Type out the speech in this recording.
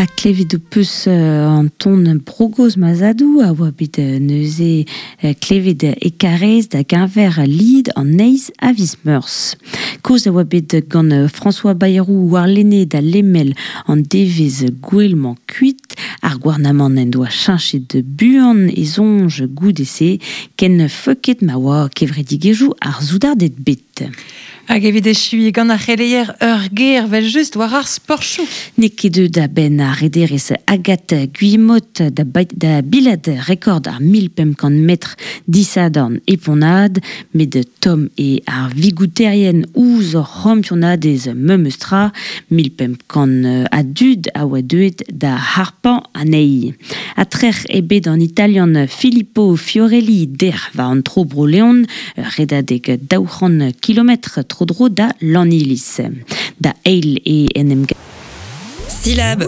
Ha klevet ho peus an ton Bro gozh ma zadoù a oa bet neuze klevet e Karaez da geñver lid an eizh a viz Meurzh. Kaoz a oa bet gant François Bayrou warlene da lemel an devezh gouel-mañ kuit. Ar gouarnamant en doa cheñchet buan e soñj goude-se, ken feuket ma oa kevredigezhioù ar soudarded bet. Hag evit echuiñ gant ar c'heleier ur ger 'vel-just war ar sporchoù. N'eo ket deuet a-benn ar rederez Agathe Guillemot da, da bilat rekord ar 1500 metr disadorn e Pont-Aven, met tomm eo ar vigouterien ouzh hor c'hampionadez memes tra. 1500 a dud a oa deuet da harpañ anezhi. Ha trec'h eo bet an Italian Filippo Fiorelli dec'h war an tro Bro-Leon, ur redadeg 200 kilometr tro-dro da Lanniliz. Da eil e en em Syllabe.